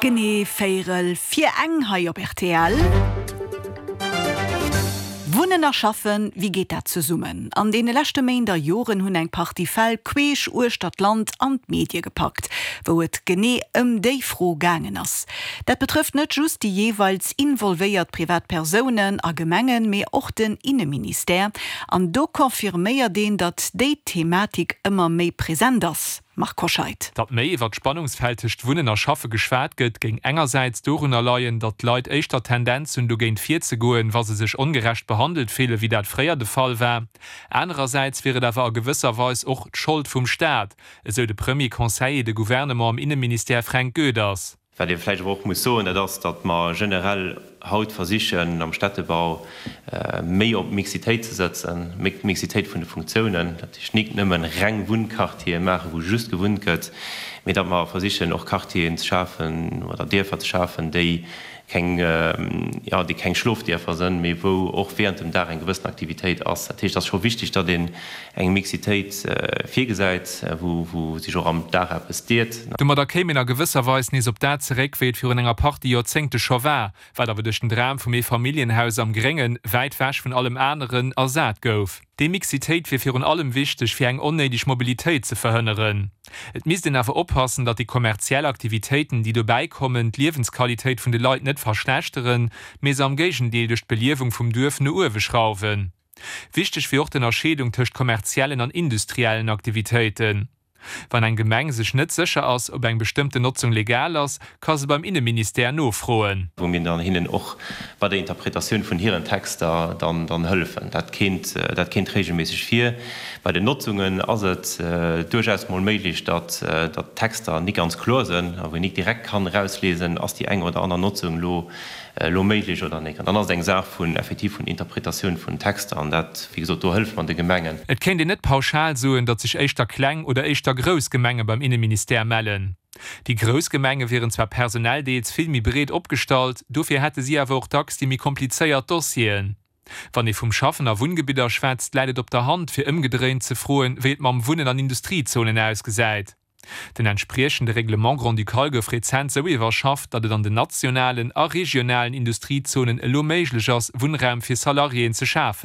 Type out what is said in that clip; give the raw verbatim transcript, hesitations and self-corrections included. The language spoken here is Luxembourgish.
Genee véierel vir eng hei op R T L. Wunnen a Schaffen, wéi geet dat zesummen? An deene leschte Méint a Joren hunn eng Partie Fäll queesch uechter d'Land an d'Medie gepackt, wou et genee ëm déi Fro gaangen ass. Dat betrëfft net just déi jeeweils involvéiert Privatpersounen a Gemengen, mee och den Inneministère. An do confirméiert een, datt déi Thematik ëmmer méi present ass. Marc Hoscheid. Datt méi iwwer d'Spannungsfeld tëscht Wunnen a Schaffe geschwat gëtt, géing engersäits dorunner leien, datt d'Leit éischter Tendenz hunn, dogéint virzegoen, wa se sech ongerecht behandelt fillen, wéi dat fréier de Fall war. Anerersäits wier et awer a gewësser Weis och d'Schold vum Staat, esou de Premier Conseiller de Gouvernement am Inneministère Fränk Goeders. Wat ee vläicht awer och muss soen, dat ass, datt mer generell haut versichen am Städtebau méi op Mixitéit ze sëtzen, méi Mixitéit vun de Funktiounen, dat heescht nik nëmmen reng Wunnquartiere maachen, wou just gewunnt gëtt, mee datt mer versichen och Quartieren ze schafen oder Dierfer ze schafen, déi keng, jo, déi keng Schlofdierfer sënn, mee wou och während dem Dag eng gewëssen Aktivitéit ass. Dat heescht, et ass scho wichteg, datt een eng Mixitéit virgesäit, wou, wou sech och am Dag eppes deet. Domadder kéim een a gewësser Weis nees op dat zeréck, wéi et virun enger Partie Joerzéngte scho war, wat awer duerch den Dram vum Eefamilljenhaus am Gréngen, wäit ewech vun allem aneren, ersat gouf. Déi Mixitéit wier virun allem wichteg, fir eng onnéideg Mobilitéit ze verhënneren. Et misst een awer oppassen, datt déi kommerziell Aktivitéiten, déi dobäi kommen, d'Liewensqualitéit vun de Leit net verschlechteren, mee se am Géigendeel duerch d'Beliewung vum Duerf no uewe schrauwen. Wichteg wier och d'Ënnerscheedung tëscht kommerziellen an industriellen Aktivitéiten. Wann eng Gemeng sech net sécher ass, ob eng bestëmmten Notzung legal ass, ka se beim Inneministère nofroen. Wou mir dann hinnen och bei der Interpretatioun vun hiren Texter dann dann hëllefen. Dat kéint dat kéint regelméisseg vir. Bei den Notzungen ass et duerchaus mol méiglech, datt datt d'Texter nik ganz kloer sënn a wou een nik direkt kann erauslesen, ass déi eng oder aner Notzung elo elo méiglech oder nik. An dann ass et eng Saach vun effektiv vun Interpretatioun vun Texter an dat, wéi gesot, do hëlleft mer de Gemengen. Et kéint een net pauschal soen, datt sech éischter kleng oder éischter grouss Gemenge beim Inneministère mellen. Déi grouss Gemenge wieren zwar personell deels vill méi breet opgestallt, dofir hätte si awer och dacks déi méi komplizéiert Dossieren. Wann ee vum Schaffen a Wunngebidder schwätzt, läit et op der Hand, fir ëmgedréint ze froen, wéi et mam Wunnen an Industriezonen ausgesäit. Den entspriechende Règlement grand-ducal gouf rezent sou iwwerschafft, datt et an den nationalen a regionalen Industriezonen elo méiglech ass, Wunnraum fir Salariéen ze schafen.